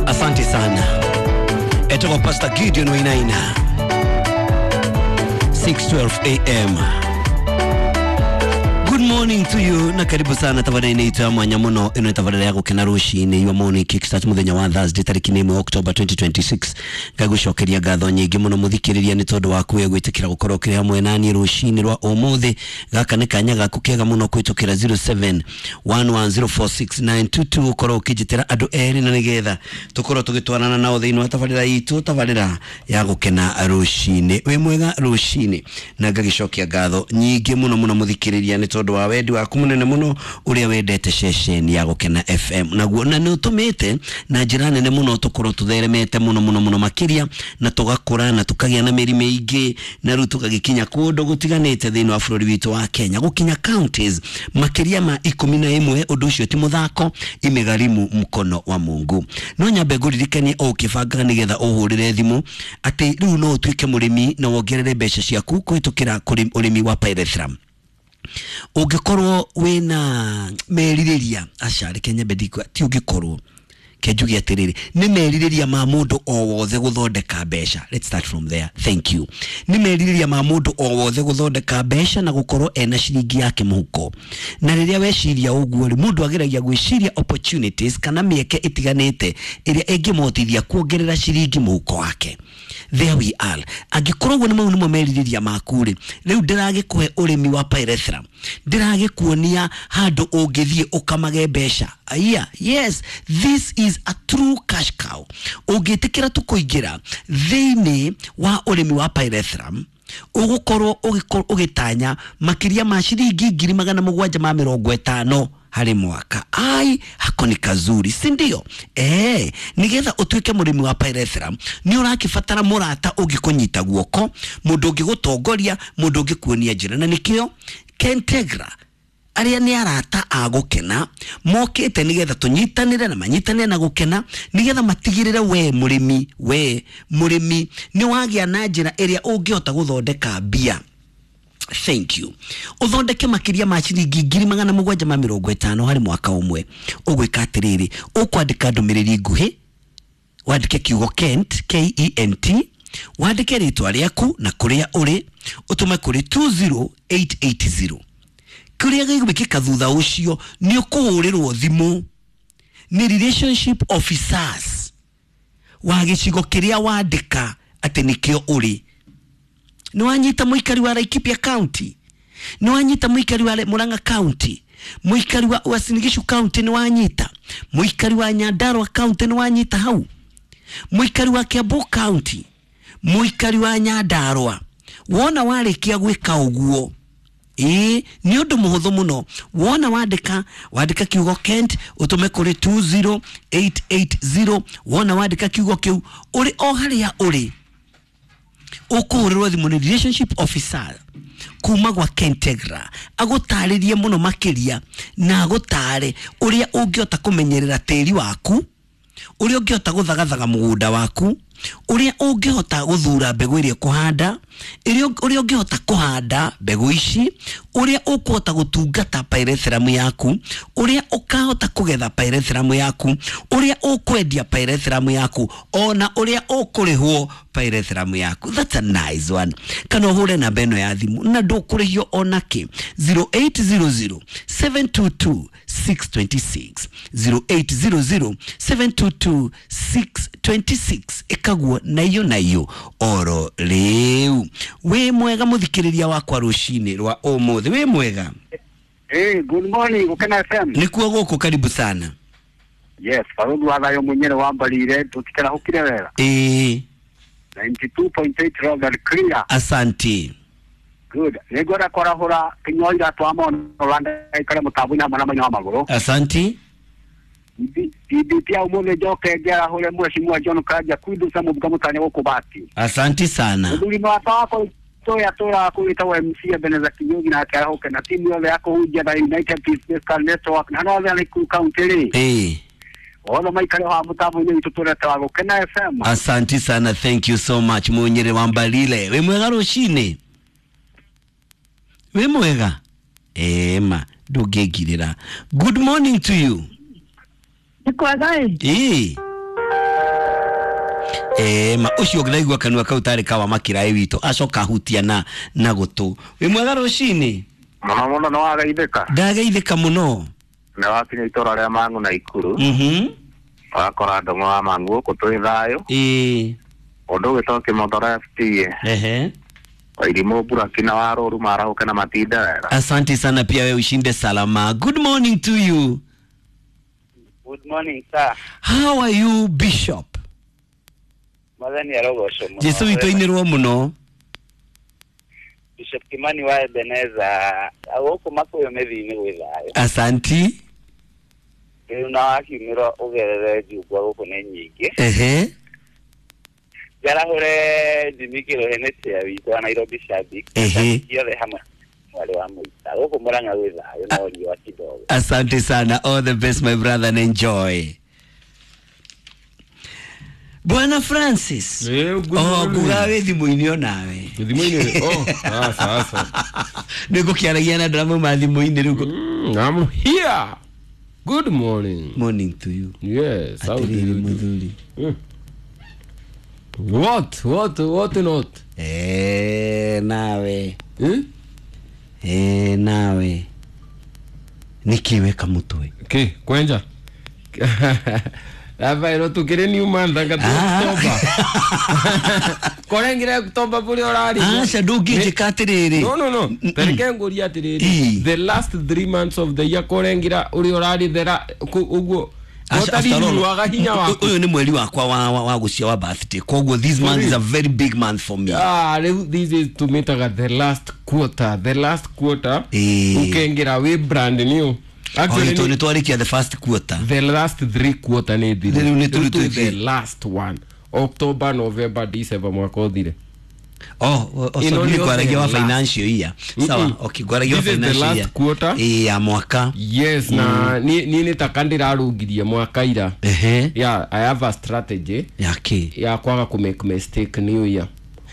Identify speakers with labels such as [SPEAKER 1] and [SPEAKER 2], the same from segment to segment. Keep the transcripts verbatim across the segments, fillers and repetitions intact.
[SPEAKER 1] Asante sana. Etagwo Pastor Gideon Wainaina. six twelve a m. Good morning to you na karibu sana tabarĩra-inĩ itũ ya mwanya mũno. Ĩno nĩ tabarĩra ya gũkena rũcinĩ, your morning kickstart, mũthenya wa Thursday tarĩki nĩ ĩmwe October twenty twenty-six. Ngagũcokeria ngatho nyingĩ mũno mũthikĩrĩria nĩ tondũ waku we gwĩtĩkĩra gũkorwo ũkĩrĩ hamwe naniĩ rũcinĩ rwa ũmũthĩ. Gaka nĩ kanya gaku kega mũno kũhĩtũkĩra zero seven one one zero four six nine two two ũkorwo ũkĩnjĩtĩra andũ erĩ na nĩgetha tũkorwo tũgĩtwarana nao thĩinĩ wa tabarĩra itũ, tabarĩra ya gũkena rũcinĩ. Wĩ mwega rũcinĩ na ngagĩcokia ngatho nyingĩ mũno mũno mũthikĩrĩria nĩ tondũ wa wendi waku mũnene mũno ũrĩa wendete ceceni ya Gũkena F M, naguo na nĩ ũtũmĩte na njĩra nene mũno tũkorwo tũtheremete mũno mũno mũno makĩria na tũgakũra na tũkagĩa na mĩri mĩingĩ na rĩu tũgagĩkinya kũndũ gũtiganĩte thĩinĩ wa bũrũri witũ wa Kenya, gũkinya counties makĩria ma ikũmi na ĩmwe. Ũndũ ũcio ti mũthako, imegharimu mkono wa Mungu. No nyambe ngũririkanie o ũkĩbangaga nĩgetha ũhũrĩre thimũ atĩ rĩu no ũtuĩke mũrĩmi na wongerere mbeca ciaku kũhĩtũkĩra ũrĩmi wa pyrethrum. Ũngĩkorwo wĩna merirĩria, aca reke nyambe ndikwa, ti ũngĩkorwo, ke njuge atĩrĩrĩ, nĩ merirĩria ma mũndũ o wothe gũthondeka mbeca. Let's start from there. Thank you. Nĩ merirĩria ma mũndũ o wothe gũthondeka mbeca na gũkorwo ena ciringi yake mũhuko. Na rĩrĩa weciria ũguo rĩ, mũndũ ageragia gwĩciria opportunities kana mĩeke ĩtiganĩte ĩrĩa ĩngĩmũhotithia kuongerera ciringi mũhuko wake. There we are. Angĩkorwo ũguo nĩ mau nĩmo merirĩria maku rĩ, rĩu ndĩragĩkũhe ũrĩmi wa pyrethrum, ndĩragĩkuonia handũ ũngĩthiĩ ũkamage mbeca. Aya, yes, this is a true cash cow. Ũngĩtĩkĩra tu kũingĩra thĩinĩ wa ũrĩmi wa pyrethrum, ũgũkorwo ũgĩtanya makĩria ma ciringi ngiri magana mũgwanja ma mĩrongo ĩtano harĩ mwaka. Ai, hako ni kazuri, si ndio? Eh, nigetha ũtuĩke mũrĩmi wa pyrethrum, nĩ ũrakĩbatara mũrata ũngĩkũnyita guoko, mũndũ ũngĩgũtongoria, mũndũ ũngĩkuonia njĩra. Na nĩkĩo Kentegra arĩa nĩ arata a gũkena mokĩte nĩgetha tũnyitanĩre na manyitanĩre na gũkena, nĩgetha matigĩrĩre we mũrĩmi, we mũrĩmi nĩ wagĩa na njĩra ĩrĩa ũngĩhota gũthondeka mbia. Thank you. Ũthondeke makĩria ma ciringi ngiri magana mũgwanja ma mĩrongo ĩtano harĩ mwaka ũmwe. Ũgwĩka atĩrĩrĩ, ũkwandĩka ndũmĩrĩri nguhĩ, wandĩke kiugo Kent, K E N T, wandĩke rĩtwa rĩaku na kũrĩa ũrĩ, ũtũme kũrĩ two zero eight eight zero. Kũrĩa gĩgwĩkĩka thutha ũcio nĩ ũkũhũrĩrwo thimũ nĩ relationship officers wa gĩcigo kĩrĩa wandĩka atĩ nĩkĩo ũrĩ. Nĩ wanyita mũikari wa Laikipia County, nĩ wanyita mũikari wa Murang'a County, mũikari wa Uasin Gishu County nĩ wanyita, mũikari wa Nyandarua County nĩ wanyita hau, mũikari wa Kiambu County, mũikari wa Nyandarua. Wona warĩkia gwĩka ũguo, ĩĩ nĩ ũndũ mũhũthũ mũno. Wona wandĩka, wandĩka kiugo Kent ũtũme kũrĩ two zero eight eight zero. Wona wandĩka kiugo kĩu ũrĩ o harĩa ũrĩ, ũkũhũrĩrwo thimũ nĩ relationship officer kuma gwa Kentegra agũtarĩrie mũno makĩria na agũtare ũrĩa ũngĩhota kũmenyerera tĩri waku, ũrĩa ũngĩhota gũthagathaga mũgũnda waku, ũrĩa ũngĩhota gũthura mbegũ ĩrĩa ũkũhanda, ũrĩa ũngĩhota kũhanda mbegũ ici, ũrĩa ũkũhota gũtungata pyrethrum yaku, ũrĩa ũkahota kũgetha pyrethrum yaku, ũrĩa ũkwendia pyrethrum yaku, ona ũrĩa ũkũrĩhwo pyrethrum yaku. That's a nice one. Kana ũhũre namba ĩno ya thimũ na ndũkũrĩhio ona kĩ, zero eight zero zero seven two two six two six, zero eight zero zero seven two two six two six. Ĩkaguo na iyo na iyo oro rĩu. Wĩ mwega mũthikĩrĩria wakwa rũcinĩ rwa ũmũthĩ, wĩ mwega?
[SPEAKER 2] Hey, good morning, Gũkena F M.
[SPEAKER 1] Nĩkuo gũkũ, karibu sana.
[SPEAKER 2] Yes, barũthi wa thayũ mwenyewe wambarire, tũtikerahũkire wega.
[SPEAKER 1] Ĩĩ.
[SPEAKER 2] ninety-two point eight loud and clear.
[SPEAKER 1] Asante.
[SPEAKER 2] Good. Nĩngwenda kwarahũra kĩnyoira twa mono Rwanda ikare mũtambo-inĩ hamwe na manya wa magũrũ.
[SPEAKER 1] Asante.
[SPEAKER 2] D B P ya ũmũthĩ njoke ngĩarahũre mheshimiwa John Karanja kwinduca mũmbunge mũtanya gũkũ Bati.
[SPEAKER 1] Asante sana.
[SPEAKER 2] Mũthuri mwata wakwa tũrĩa tũraga kũgĩtagwo M C Ebenezer Kinyugi na akĩarahũke na timu yothe ya kũhunjia na United Peace Fiscal Network na othe a Nakuru County rĩ.
[SPEAKER 1] Ĩĩ.
[SPEAKER 2] Othe maikare haha mũtambo-inĩ witũ tũrete wa Gũkena F M.
[SPEAKER 1] Asante sana, thank you so much Munyere wa Mbalile. Wĩ mwega rũcinĩ? Wĩ mwega? Ema, ndũngĩngirĩra. Good morning to you.
[SPEAKER 3] Nĩ kwega ĩ?
[SPEAKER 1] Ĩĩ. Eh ma ucio ndaigua kanua kau tarĩ kawa makiraĩ witũ acoka hutia na na gũtũ. Wĩ mwega rũcinĩ?
[SPEAKER 3] Mũno mũno nĩ wageithĩka.
[SPEAKER 1] Ndageithĩka mũno.
[SPEAKER 3] Nĩ wakinya itũra rĩa Mang'u na Ikuru.
[SPEAKER 1] Mhm.
[SPEAKER 3] Wakora andũ wa Mang'u gũkũ twĩ thayũ.
[SPEAKER 1] Ĩĩ.
[SPEAKER 3] Ũndũ ũgĩtwo Kĩmothoro F T.
[SPEAKER 1] Ehe.
[SPEAKER 3] Wairimu Buraki na Warũru marahũke na matinda wega.
[SPEAKER 1] Asante sana pia wewe ushinde salama. Good morning to you.
[SPEAKER 4] Good morning sir.
[SPEAKER 1] How are you Bishop?
[SPEAKER 4] Mwathani arogocwo mũno.
[SPEAKER 1] Jesu witũ inĩrwo mũno.
[SPEAKER 4] Bishop Kimani wa Ebeneza gũkũ Makuyu mĩthi-inĩ gwĩ thayũ.
[SPEAKER 1] Asanti.
[SPEAKER 4] Rĩu na wakiumĩra ũgerere njungwa gũkũ nĩ nyingĩ.
[SPEAKER 1] Ehe.
[SPEAKER 4] Njarahũre Jimmy Kĩrũhĩ nĩ chair witũ wa Nairobi Shabik.
[SPEAKER 1] Ehe.
[SPEAKER 4] Ciothe hamwe mwarĩ wa Mũita. Gũkũ Murang'a gwĩ thayũ no riũa kidogo.
[SPEAKER 1] Asante sana. All the best my brother and enjoy. Bwana Francis.
[SPEAKER 5] Eh, good
[SPEAKER 1] Oh,
[SPEAKER 5] morning.
[SPEAKER 1] nguga wĩ thimũ-inĩ onawe.
[SPEAKER 5] Thimũ-inĩ. Oh, sasa sasa.
[SPEAKER 1] Nĩ ngũkĩaragia na andũ arĩa mauma thimũ-inĩ rĩu.
[SPEAKER 5] Mm, I'm here. Good morning.
[SPEAKER 1] Morning to you.
[SPEAKER 5] Yes, how do
[SPEAKER 1] Atĩrĩrĩ
[SPEAKER 5] you do?
[SPEAKER 1] mũthuri.
[SPEAKER 5] Mm. What? What? What not?
[SPEAKER 1] Eh, nawe.
[SPEAKER 5] Eh?
[SPEAKER 1] Eh, nawe. Nĩkĩ weka mũtwe?
[SPEAKER 5] Okay, kwenja. Lava ero tukire new month anga tu
[SPEAKER 1] Ah.
[SPEAKER 5] October. Korengire October buri orari.
[SPEAKER 1] Aca ndũngĩnjĩka atĩrĩrĩ.
[SPEAKER 5] No no no. Pereke nguria atiriri.
[SPEAKER 1] Ii.
[SPEAKER 5] The last three months of the year korengira uri orari thera uguo.
[SPEAKER 1] Aca, after all,
[SPEAKER 5] Waga hinya waku.
[SPEAKER 1] ũyũ nĩ mweri wakwa wa wa, wa gũcia wa birthday. Koguo this month is a very big month for me.
[SPEAKER 5] Ah, rĩu this is tumitaga the last quarter, the last quarter.
[SPEAKER 1] Ĩĩ.
[SPEAKER 5] Ukengira we brand new. Actually,
[SPEAKER 1] Actually, nĩ twarĩkia the first quarter.
[SPEAKER 5] the last three quarter nĩ thiru.
[SPEAKER 1] Rĩu nĩ tũrĩ
[SPEAKER 5] Rĩu twĩ
[SPEAKER 1] twĩ-
[SPEAKER 5] the last one. October, November, December mwaka ũthire.
[SPEAKER 1] Oh, oh, oh,
[SPEAKER 5] Ĩno
[SPEAKER 1] so
[SPEAKER 5] nĩyo
[SPEAKER 1] ngwaragia
[SPEAKER 5] the
[SPEAKER 1] wa
[SPEAKER 5] last.
[SPEAKER 1] financial year. Sawa,
[SPEAKER 5] Mm-mm.
[SPEAKER 1] okay, ngwaragia wa
[SPEAKER 5] This is the
[SPEAKER 1] financial
[SPEAKER 5] last
[SPEAKER 1] year.
[SPEAKER 5] quarter.
[SPEAKER 1] Ĩĩ, ya mwaka.
[SPEAKER 5] Yes, na niĩ niĩ nĩ taka ndĩrarũngirie mwaka ira.
[SPEAKER 1] Ehe.
[SPEAKER 5] Yeah, I have a strategy
[SPEAKER 1] Ya kĩ?
[SPEAKER 5] ya kwaga ku make mistake new year.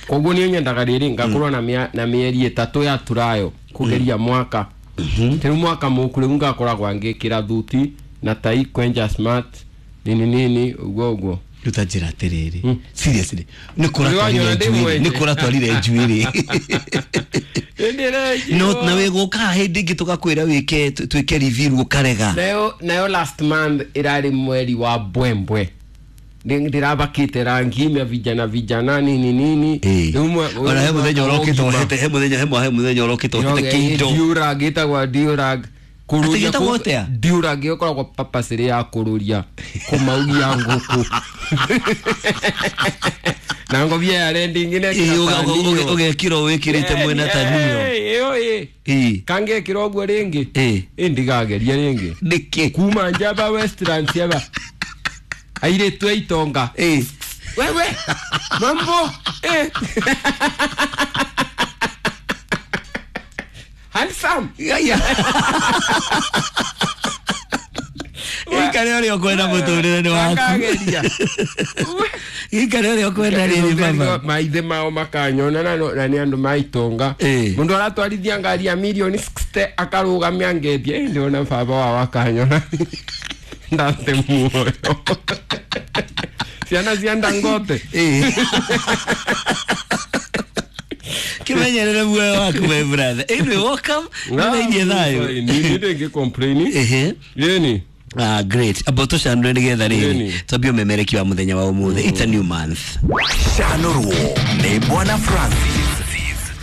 [SPEAKER 5] Koguo niĩ nyendaga rĩrĩ ngakorwo na mĩa- na mĩeri ĩtatũ ya turayo kũgeria mwaka. Rĩu mwaka mũku rĩu ngakoragwo ngĩkĩra thuti na tai kwenja smart nini nini ũguo ũguo.
[SPEAKER 1] Rĩu ta njĩra atĩrĩrĩ. Seriously. Nĩ kũra
[SPEAKER 5] Nĩ wanyona
[SPEAKER 1] twarire
[SPEAKER 5] ndĩ
[SPEAKER 1] njuĩrĩ.
[SPEAKER 5] mwenje.
[SPEAKER 1] Nĩ kũra twarire njuĩrĩ. No, na wĩ gũka hĩndĩ ĩngĩ tũgakwĩra wĩke twĩke review ũkarega.
[SPEAKER 5] Nayo nayo last month ĩrarĩ mweri wa mbwembwe. Ndĩ- ndĩrabakĩte rangi mĩa vijana vijana nini nini.
[SPEAKER 1] Ĩĩ.
[SPEAKER 5] Rĩu mwe-
[SPEAKER 1] Ona he mũthenya
[SPEAKER 5] mwaka
[SPEAKER 1] ũrokĩte
[SPEAKER 5] ũgima.
[SPEAKER 1] ũhete he mũthenya he he mũthenya ũrokĩte ũhete kĩindo.
[SPEAKER 5] Durag ĩtagwo durag.
[SPEAKER 1] Atĩ gĩtagwo atĩa?
[SPEAKER 5] Durag ĩkoragwo papacĩrĩ ya kũrũria kũmaugia ngũkũ. Na ngobia ya rendi ingĩ
[SPEAKER 1] Ĩĩ, ũga- ũga- ũgekĩra wĩkĩrĩte mwena ta niyo.
[SPEAKER 5] Ĩyo ĩ.
[SPEAKER 1] Ĩĩ.
[SPEAKER 5] Kangekĩra ũguo rĩngĩ.
[SPEAKER 1] Ĩĩ.
[SPEAKER 5] Ĩ ndigageria rĩngĩ.
[SPEAKER 1] Nĩkĩ?
[SPEAKER 5] Kuma njaba Westlands aba. Airĩtu a itonga.
[SPEAKER 1] Ĩĩ.
[SPEAKER 5] Wewe mambo eh. Handsome.
[SPEAKER 1] Aya. Gĩikare ũrĩa ũkwenda mũtũrĩre-inĩ waku.
[SPEAKER 5] Makageria.
[SPEAKER 1] Gĩikare ũrĩa ũkwenda rĩrĩ baba.
[SPEAKER 5] Maithe mao makanyona na no- na nĩ andũ maitonga.
[SPEAKER 1] Ĩĩ.
[SPEAKER 5] Mũndũ aratwarithia ngari ya mirioni sixty akarũgamia ngethia ĩ ndĩrona baba wao akanyona ndate muoyo. Ciana cia Dangote.
[SPEAKER 1] Ĩĩ. Kĩmenyerere muoyo waku my brother. Anyway, welcome. Nĩ thayũ.
[SPEAKER 5] Niĩ ndĩngĩ complain.
[SPEAKER 1] Ehe.
[SPEAKER 5] Yeni.
[SPEAKER 1] Ah, great. Amba tũcanũre nĩgetha rĩrĩ
[SPEAKER 5] Ĩni.
[SPEAKER 1] twambie ũmemereki wa mũthenya wa ũmũthĩ. It's a new month.
[SPEAKER 6] Canũrwo nĩ Bwana Francis.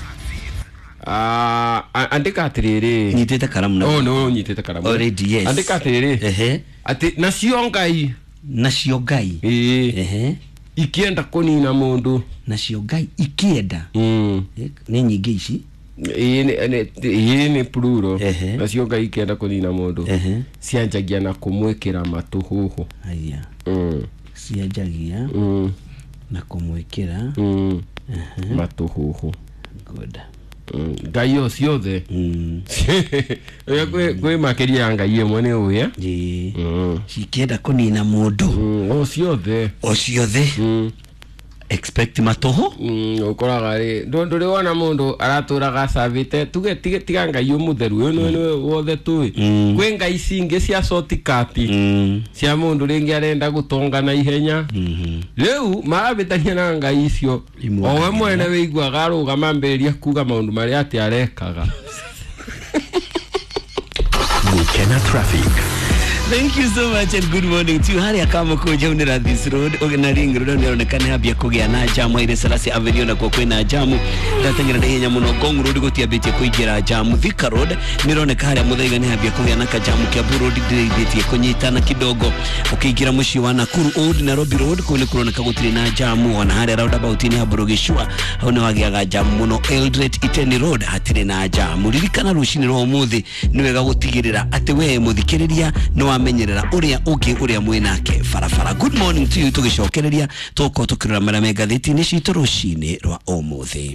[SPEAKER 5] Ah, andĩka atĩrĩrĩ.
[SPEAKER 1] Nyitĩte karamu na
[SPEAKER 5] Oh, no, nyitĩte karamu.
[SPEAKER 1] Already, yes.
[SPEAKER 5] Andĩka atĩrĩrĩ.
[SPEAKER 1] Ehe.
[SPEAKER 5] Atĩ nacio Ngai.
[SPEAKER 1] Nacio Ngai.
[SPEAKER 5] Ĩĩ.
[SPEAKER 1] Ehe.
[SPEAKER 5] Ikĩenda kũnina mũndũ.
[SPEAKER 1] Nacio Ngai ikĩenda.
[SPEAKER 5] Mm.
[SPEAKER 1] Nĩ nyingĩ ici.
[SPEAKER 5] Ĩĩ nĩ- nĩ- ĩĩ nĩ plural.
[SPEAKER 1] Ehe.
[SPEAKER 5] Nacio Ngai ikĩenda kũnina mũndũ.
[SPEAKER 1] Ehe.
[SPEAKER 5] Cianjagia na kũmwĩkĩra matũhũhũ.
[SPEAKER 1] Haya.
[SPEAKER 5] Mm.
[SPEAKER 1] Cianjagia
[SPEAKER 5] Mm.
[SPEAKER 1] na kũmwĩkĩra
[SPEAKER 5] Mm. Matũhũhũ.
[SPEAKER 1] good.
[SPEAKER 5] Mm. Ngai o ciothe.
[SPEAKER 1] Mm.
[SPEAKER 5] Ũrĩa kwĩ kwĩ makĩria ya Ngai ĩmwe nĩ ũĩ. eh?
[SPEAKER 1] Ĩĩ.
[SPEAKER 5] Mm.
[SPEAKER 1] Cikĩenda kũnina mũndũ
[SPEAKER 5] Mm. O ciothe.
[SPEAKER 1] o ciothe
[SPEAKER 5] Mm.
[SPEAKER 1] Expect matoho.
[SPEAKER 5] Mm, ũkoraga rĩ ndũ- ndũrĩ wona mũndũ aratũraga acabĩte tuge tige- tiga ngai ũmũtheru ũyũ nĩwe nĩwe wothe tũĩ.
[SPEAKER 1] Mm.
[SPEAKER 5] Kwĩ ngai cingĩ cia shortcut
[SPEAKER 1] Mm.
[SPEAKER 5] cia mũndũ rĩngĩ arenda gũtonga na ihenya.
[SPEAKER 1] Mhm.
[SPEAKER 5] Rĩu marabĩtania na ngai icio.
[SPEAKER 1] Imwe.
[SPEAKER 5] Owe mwene wĩiguaga arũgama ambĩrĩria kuga maũndũ marĩa atĩ arekaga.
[SPEAKER 6] Gukena traffic.
[SPEAKER 1] Thank you so much and good morning to you. Haria kama kuja unira this road na ring road nĩ aronekana hambia kũgĩa na jamu Haile Selassie Avenue nakuo kwĩna jamu ndateng'era na ihenya mũno. Ngong Road gũtiambĩtie kũingĩra jamu. Thika Road nĩ ĩroneka harĩa Muthaiga nĩ hambia kũgĩa na kajamu. Kiambu Road ndĩrĩithĩtie kũnyitana kidogo ũkĩingĩra mũciĩ wa Nakuru. Old Nairobi Road kũu nĩ kũroneka gũtirĩ na jamu, ona harĩa roundabout-inĩ ya Burugicua hau nĩ wagĩaga jamu mũno. Eldoret Iten Road hatirĩ na jamu. Ririkana rũcinĩ rwa ũmũthĩ nĩ wega gũtigĩrĩra atĩ we mũthikĩrĩria nĩ wamenyerera ũrĩa ũngĩ ũrĩa mwĩnake barabara. Good morning to you. Tũgĩcokereria tũgũkorwo tũkĩrora marĩa me ngathĩti-inĩ citũ rũcinĩ rwa ũmũthĩ.